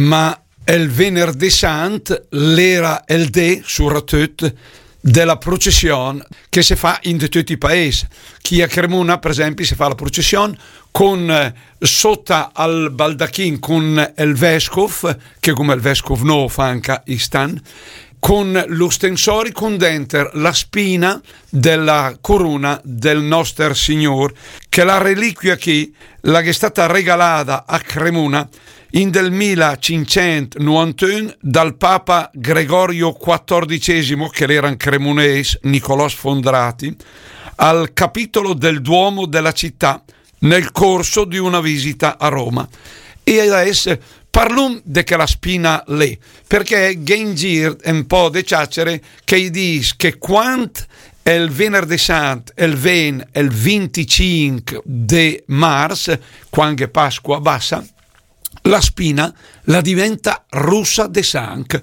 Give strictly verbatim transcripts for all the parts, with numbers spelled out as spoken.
Ma el venerdé sant l'era el dé, suratöt, de la procession che se fa in de töt i paes. Chi a Cremuna, per esempi, se fa la procession con, eh, sota al baldachin con el vescof, che come el vescof no fa anca istan, con l'ostensori con denter la spina de la coruna del Noster Signor, che la reliquia chi la gh'è stata regalada a Cremuna in del mila cinccent novantun dal papa Gregorio quattordicesimo, che l'era un cremunes, Nicolò Sfondrati, al capitolo del Duomo della città nel corso di una visita a Roma. E adess parlum de chela spina lé, perché gh'è in gir un po' de ciacere che i dis che quand el venerdé sant el ven el vinticinc de mars, quand gh'è Pasqua bassa, la spina la diventa russa de sanc.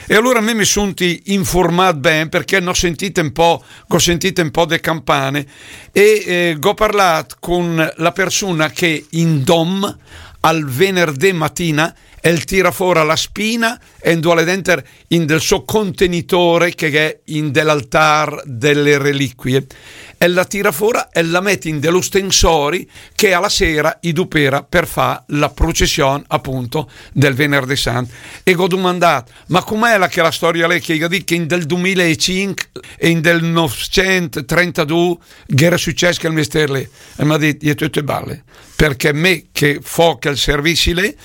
E alura me mi sunti informat ben, perché n'ho sentit un po', gh'ho sentit un po' de campane e, eh, gh'ho parlat con la persona che in dom al venerdé matina el tira fora la spina e 'ndua l'è denter in del so contenitore che gh'è in de l'altar delle reliquie. E la tira fora e la met in de l'ostensori che a la sera i dupera per fa la procession, appunto, del venerdé sant. E gh'ho dumandat: "Ma com'è la, che la storia lé?" Che i ga dit che in del dumilaecinc e in del novcentotrentadù gh'era success quel mester lé. E m'ha dit: "I è töte balle." Perché me che fo quel servizi lé,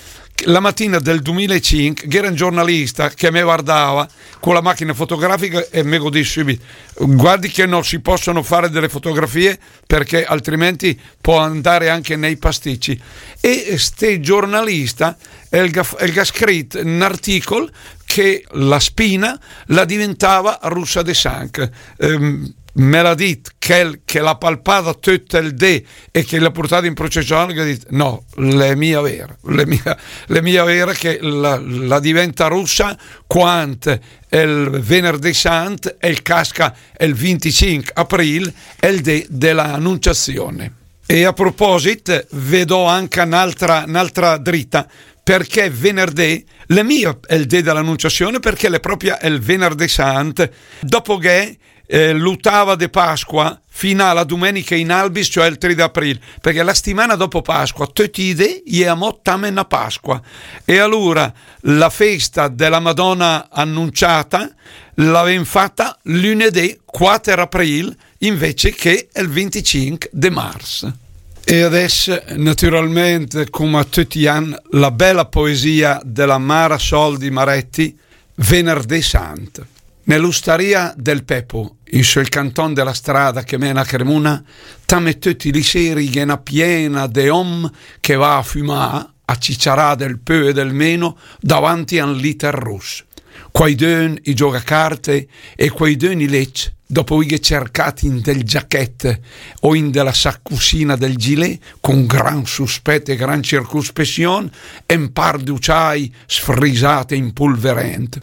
la matina del dumilaecinc gh'era un giornalista che me vardava con la machina fotografica e me gh'ho dit subit: "Guardi che non si possono fare delle fotografie perché altrimenti può andare anche nei pasticci." E ste giornalista el ga, el ga scrit un articol che la spina la diventava russa de sanc. Ehm, me l'ha dit quel che l'ha palpada töt el dé e che l'ha portada in procession, che ha dit: "No, l'è mia vera, l'è mia, l'è mia vera che la, la diventa russa quand el venerdé sant el casca el vinticinc april, el dé de la Annunciazione." E a proposit, ve do anca n'altra, n'altra drita, perché venerdé l'è mia el dé de l'Annunciazione, perché l'è propria el venerdé sant, dopo che eh, l'otava de Pasqua fino alla domenica in albis, cioè il tre d'aprile, perché la settimana dopo Pasqua, töt i dé, i è amò tame na Pasqua. E allora la festa della Madonna Annunciata l'avem fatta lunedì quattro aprile invece che il venticinque de marzo. E adesso, naturalmente, come a tutti gli anni, la bella poesia della Mara Soldi Maretti, Venerdì Sant. Nell'ostaria del Pepo, in sul canton della strada che mena a Cremona, tame tutti li seri gh'è na piena de om che va a fumà, a ciciarà del pö e del meno davanti a un liter ros. Quaidön i gioga carte e quaidön i lec, dopo veghe cercat in del giachèt o in de la sacusina del gilè, con gran suspet e gran circuspession, un par d'uciai sfrisat e impulverent.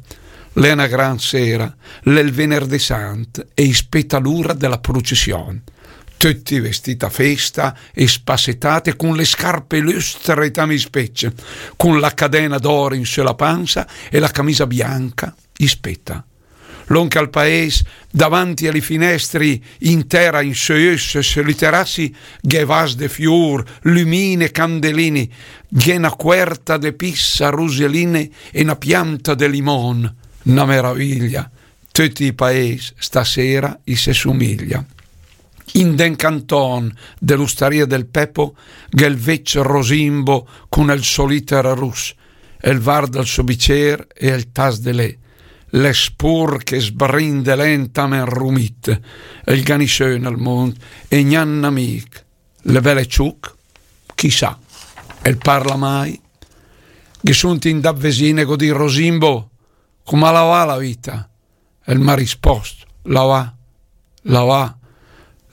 L'è na gran sera, l'è il venerdì sant e i speta l'ura de la procession. Tutti vestiti a festa e spassetate con le scarpe lustre tame i spec, con la cadena d'or in su la panza e la camisa bianca, i speta. Longh al paes, davanti a li finestri, in tera, in su i öss, su li terassi, gh'è vas de fior, lumine, candeline, gh'è na cuerta de pis a ruseline e na pianta de limon, na meraviglia. Tutti i paes stasera i se somiglia. In d'un canton de l'ostaria del Pepo gh'è il vec Rosimbo con el so liter ros, el varda il so bicer e el tas de lè. L'è sporch e sbrindelen tame inrumit, el gh'à nisön al mond e gnà n'amic. L'è bel e ciuc? Chissà. El parla mai? Ghe sunt indat vesin e gh'ho dit: Rosimbo, come la va la vita? El m'ha rispost: la va, la va,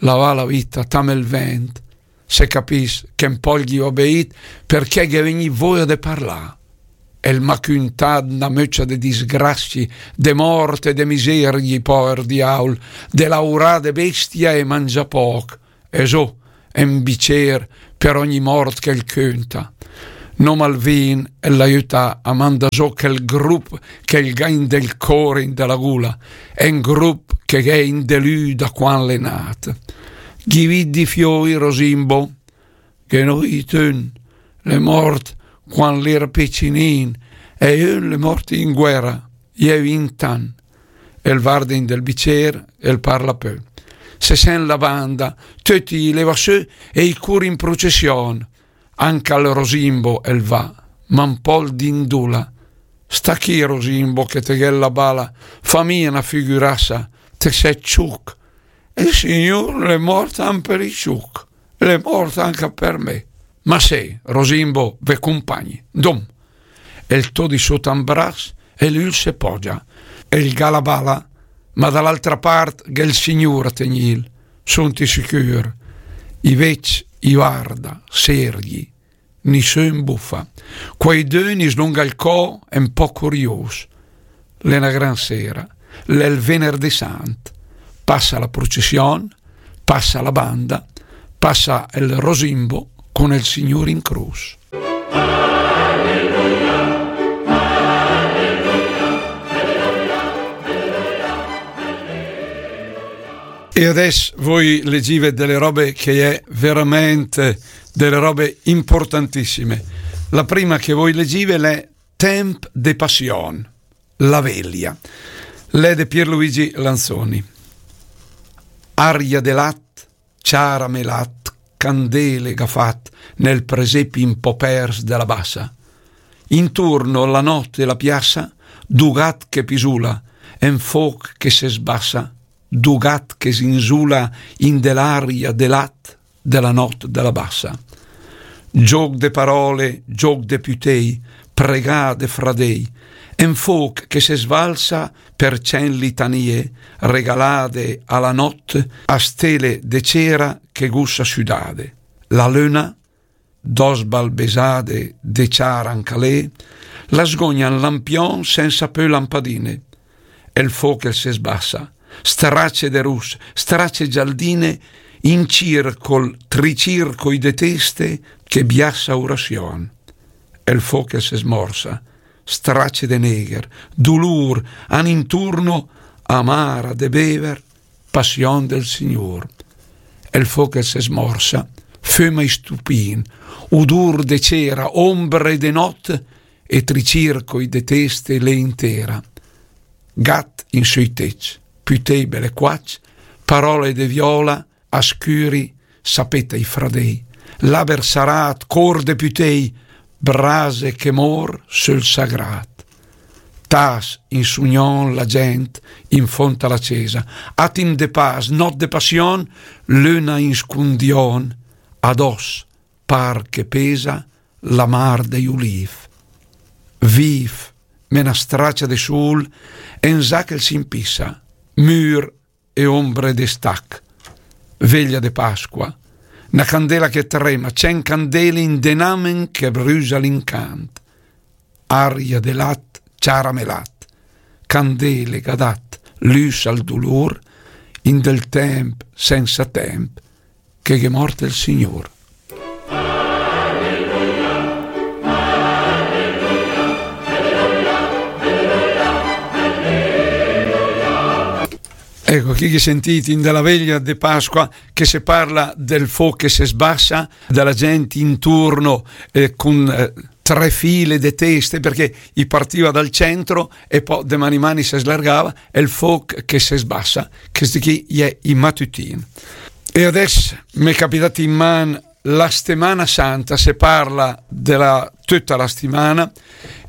la va la vita, tame il vent. Se capiss che un po' ghi ho beìt, perché gh'è vegnì voia de parlà. El m'ha cuntat na möcia de disgrazi, de mort e de miserii, pover diaul, de laurà de bestia e mangià poc. E zo, un bicer per ogni mort che el cunta. Noma 'l vin el l'aiüta a mandà zó chèl grup che 'l gh'à in del cór, in de la gula, e 'n grup che gh'è in de lü da quan l'è nat. Ghi vidi fioi, Rosimbo? Ghe n'ó ü, ün l'è mort quan l'era picinin, e ü ün l'è mort in guèra, iè vint an. El varda in del bicér, el parla pö. Se sènt la banda, töcc i leva sö e i cur in prucession. Anca 'l Rosimbo el va, ma 'n pó 'l dindula. Sta chì, Rosimbo, che te gh'ét la bala, fa mia na figürassa, te sét ciuc. El Signur l'è mort an per i ciuc, l'è mort anca per me. Ma sé, Rosimbo, ve cumpagni. Dom. El tö di sóta 'n bras, e lü 'l se pogia. El gh'à la bala, ma da l'altra part gh'è 'l Signur a tegnìl, sunti sicür. I vècc i varda, serghi, nisün bufa. Quaidün i slunga 'l có, e 'n pó curius. L'è na gran sera, l'è 'l venerdì sant. Passa la prucession, passa la banda, passa el Rosimbo cun el Signur in crus. E adès voi legìve dele robe che è veramente dele robe importantissime. La prima che voi legìve l'è Temp de passion, la veglia. L'è de Pierluigi Lanzoni. Aria de lat, ciara me lat, candele gh'à fat nel presepi 'n pó pers de la bassa. Inturno la nòt e la piassa, du gat che pisula, e 'n fóch che se sbassa, du gat che s'inzula in de l'aria de lat de la nòt de la bassa. Gióch de parole, gióch de pütèi, pregà de fradèi, e 'n fóch che se svalsa per cènt litanie, regalade a la nòt a stele de cera che gussa südade. La löna, dò sbalbesade de ciara anca lé, la sgogna 'n lampion sensa pö lampadine. El fóch el se sbassa, strace de russ, strace gialdine, in circol, tricircoi de teste che biassa urasion. El fóch el se smorsa, strace de negher, dulur, an inturno, amara de bever, passion del Signur. El fóch el se smorsa, föma i stupin, udur de cera, ombre de nòt, e tricircoi de teste lé in tera. Gat in sö i tecc, pütèi belequacc, parole de viola, a scüri, sapeta i fradèi, laber sarat, cór de pütèi, brase che mór söl sagrat. Tas in sugnon la gent in fónt a la cesa, atim de pas, nòt de passion, löna in scundion, adòs, par che pesa, la mar dei ulif. Vif, me na stracia de sul, e 'n zà che 'l s'impissa, mür e ombre de stach. Veglia de Pasqua, na candela che trema, cènt candele in de 'n amen che brüsa l'incant. Aria de lat, ciara me lat, candele gh'à dat lüs al dulur, in del temp sensa temp, che gh'è mort el Signur. Ecco, chì che sentì in de la veglia de Pasqua che se parla del fóch che se sbassa, de la gent inturno, eh, cun, eh, tre file de teste, perché i partiva dal centro e pò de man in man i se slargava, e el fóch che se sbassa, chesti chì i è i matütin. E adès m'è capitàt in man la Stemana Santa, se parla de la, töta la stimana,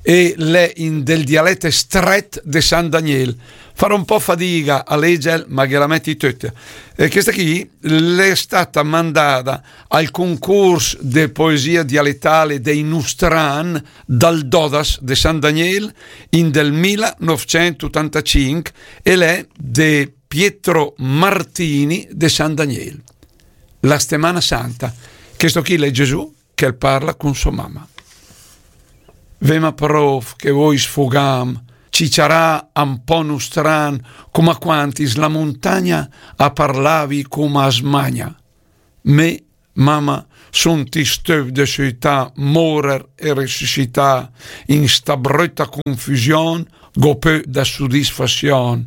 e l'è in del dialèt stret de San Daniel. Farò un pò fadiga a lègel, ma ghe la meti töta. E chesta chì l'è stata mandada al cuncurs de poesia dialetale dei Nustran dal Dodas de San Daniel in del mila novcent otantacinc e l'è de Pietro Martini de San Daniel. La Stemana Santa. Chesto chì l'è Gesù che 'l parla cun sò mama. Vema pròf che voi sfugàm, ciciarà un pò nustran, coma quand is la muntagna a parlavi coma a smagna. Me, mama, Sun i stöv de söità, morer e resusità, in sta bröta confüsión, gh'ó pö da sudisfasión.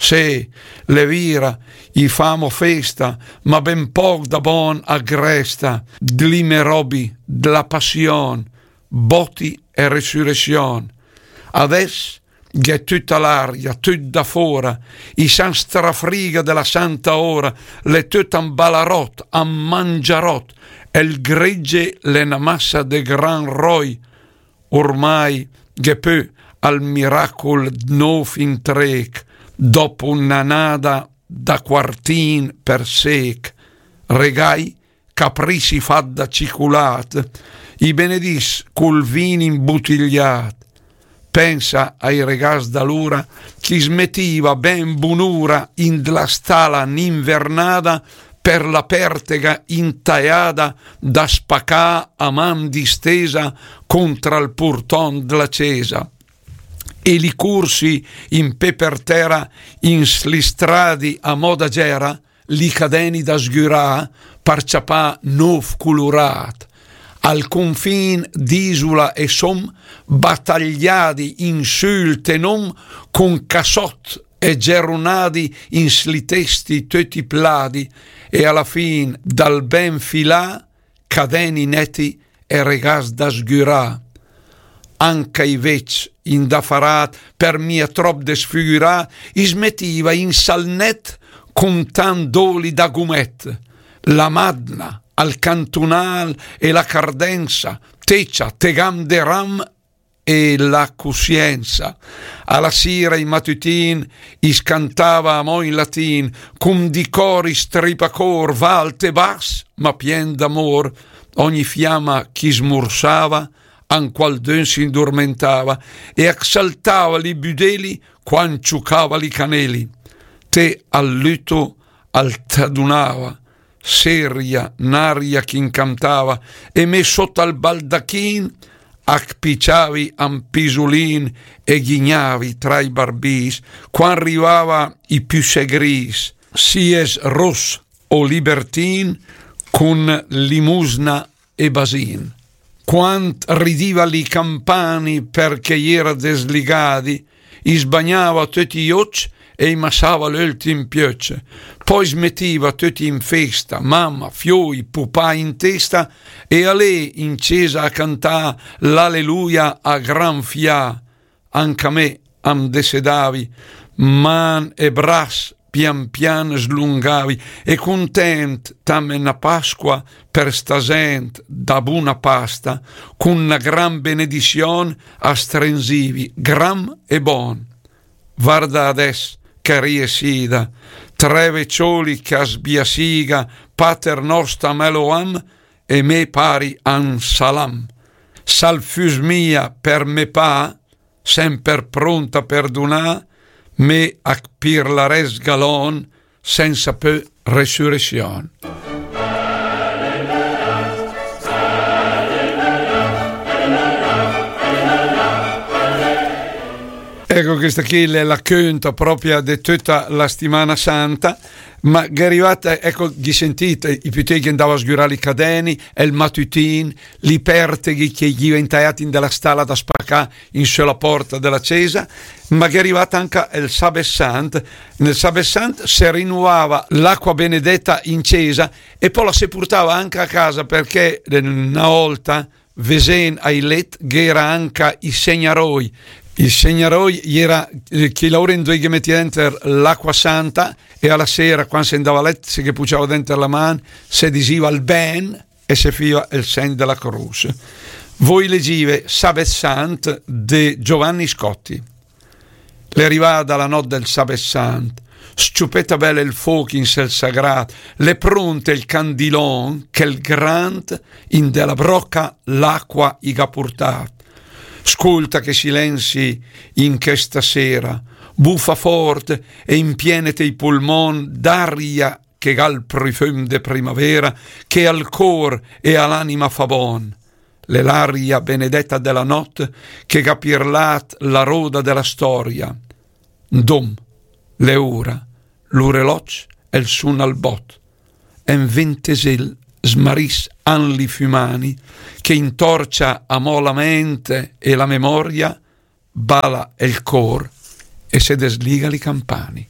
Sé, l'è vira, i famo festa, ma ben póch da bón a gh'resta, dli me robi, dla pasión, bóti e resuresión. Adès gh'è töta l'aria, töt da fóra, i san strafriga de la santa óra, l'è töt an balaròt, an mangiaròt, e 'l gregge l'è na massa de gran ròi, ormai gh'è pö al miracul d'nóv intréch, dòpo n'anada da quartin per séch, regài, caprisi fat da ciculàt, i benedìs cul vin imbutigliàt. Pensa ai regàs d'alura, ch'i smetiva ben bunura in dla stala n'invernada per la pertega intaiada da spacà a man distesa contra 'l purtón dla cesa. E li cursi in pé per tera, in sli stradi a moda gera, li cadeni da sgürà par ciapà nóv culuràt. Al confin d'Isula e Som, batagliadi in sül tenom, con casòt e gerunadi in sli testi töti pladi, e a la fin dal ben filà, cadeni neti e regàs da sgürà. Anca i vecc indafaràt, per mia tròp desfigürà, i smetiva in salnèt con tant d'oli da gumèt. La madna, al cantunàl e la cardensa, tecia, tegam de ram e la cussiensa. A la sira i matütin i scantava amò in latin, con di cori stripacór, va alt e bas, ma pien d'amór, ogni fiama ch'i smursava, an qualdön s'indurmentava, e a saltava li büdeli quan ciucava li caneli. Te al lüto al t'adunava, seria, n'aria ch'incantava, e me sóta al baldachin a piciavi an pisulin e ghignavi tra i barbis, quan rivava i pü segrìs, sies ros o libertin, con limusna e basin. Quant ridiva li campani perché i era desligadi, i sbagnava töti i occ e i masava l'öltim piöcc. Poi smetiva töti in festa, mama, fioi, pupà in testa, e alé in cesa a cantà l'Alleluia a gran fià. Anca me am desedavi, man e bras pian pian slungavi, e content tame na Pasqua per sta zent da buna pasta, con na gran benedision a strenzivi, gram e bon. Varda adès che riesida, tre vecioli che a sbiasiga, Pater nosta me lo am, e me pari an salam. Sal füs mia per me pa, semper pront a perdunà, me a pirlarès galon, sensa pö resuresion. Ecco, questa qui è la conta propria di tutta la settimana santa. Ma gh'è rivata, ecco, ghi sentite, i pütei che andava a sgürà li cadeni, e il matütin, li perteghi che ghi ventaiati in della stala da spacà in sö la porta della cesa, ma gh'è rivata anca el Sabes Sant. Nel Sabes Sant se rinuvava l'acqua benedetta in cesa e poi la se purtava anca a casa, perché, eh, na olta, vesen ai let, gh'era anca i segnaroi. I segnaroi iera, eh, chi laura indoi ghe metia denter l'acqua santa e a la sera, quan se andava a let, se ghe puciava denter la man, se disiva el ben, e se fiva el segn de la crus. Voi legive Sabes Sant de Giovanni Scotti. L'è rivada la not del Sabes Sant, sciupeta bel el foch in sel sagrat, l'è pront el candilon che el grant in de la broca l'acqua i gh'ha purtat. Scolta che silenzi in chesta sera, bufa fort e impienete i pulmon d'aria che gh'ha il prufum de primavera, che al cor e a l'anima fa bon. L'è l'aria benedetta de la not che gh'ha pirlat la roda de la storia. Ndom, l'è ura, l'ureloc el suna al bot. En ventesel smaris an li fümani, che intorcia amò la ment e la memoria, bala el cor e se desliga li campani.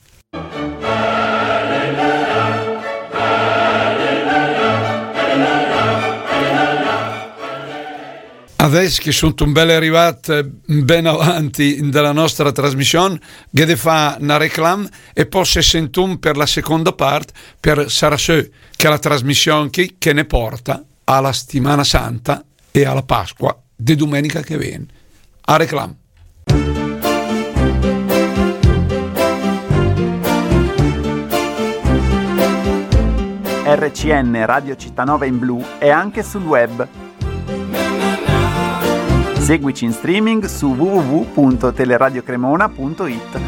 Adès che sun un bel arrivat, eh, ben avanti della nostra trasmission, gh'è de fa na reclam e pò se sentum per la seconda part, per sarà sö che la trasmission chi che ne porta a la Stimana Santa e a la Pasqua de dumenica che vien. A reclam. R C N Radio Città Nova in blu è anche sul web. Seguici in streaming su w w w punto teleradio cremona punto i t.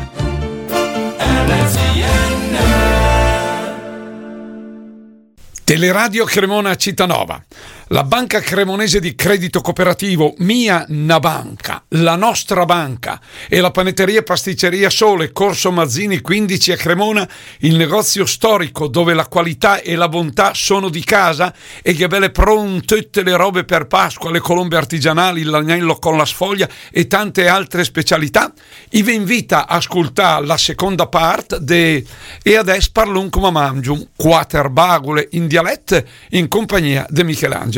Teleradio Cremona Città Nova. La Banca Cremonese di Credito Cooperativo, mia na banca, la nostra banca, e la panetteria e pasticceria Sole, Corso Mazzini quindici a Cremona, il negozio storico dove la qualità e la bontà sono di casa e che belle pronte tutte le robe per Pasqua, le colombe artigianali, l'agnello con la sfoglia e tante altre specialità. I ve invita a ascoltà la seconda part de E adès parlum coma mangium, quater bagule in dialet in compagnia de Michelangelo.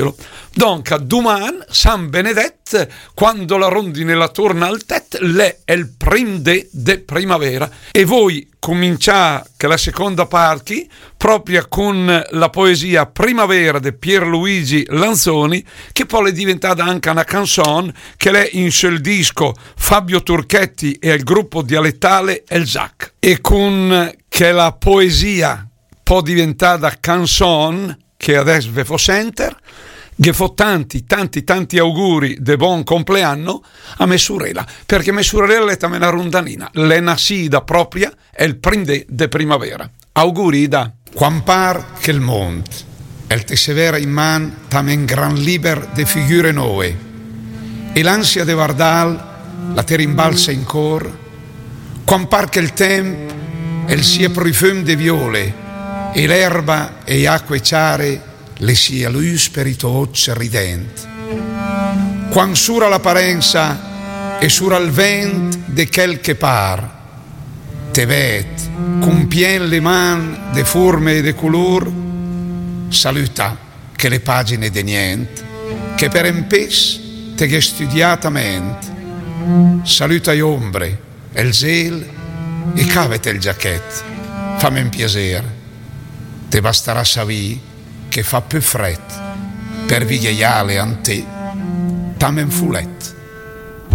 Donca, duman, San Benedet, quando la rondine la torna al tet, l'è el prim de de primavera. E voi comincià che la seconda part chi, propria con la poesia Primavera de Pierluigi Lanzoni, che pò l'è diventada anca na canzon, che l'è in sul disco Fabio Turchetti e il gruppo dialettale El Zac. E con che la poesia pò diventada canzon, che adès ve fo senter, ghe fo tanti, tanti, tanti auguri de bon compleanno a me surela, perché me surela l'è tamè na rondanina, l'è nasida propria el prim de de primavera. Auguri, Ida. Quan par che el mond el te severa in man tamè un gran liber de figure noe, e l'ansia de vardal la te rimbalsa in cor, quan par che el temp el sia prufum de viole, e l'erba e acque ciare le sia lus per i to oc rident. Quan sura l'aparensa e sura el vent de chel che par, te ved, compien le man de forme e de color, saluta che le pagine de nient, che per un pes te gh'è studiat a ment. Saluta i ombre, el zel e cavet el giachet, fam un piaser. Te bastarà savì che fa pü fret per vighejale an te, tamè un fulet.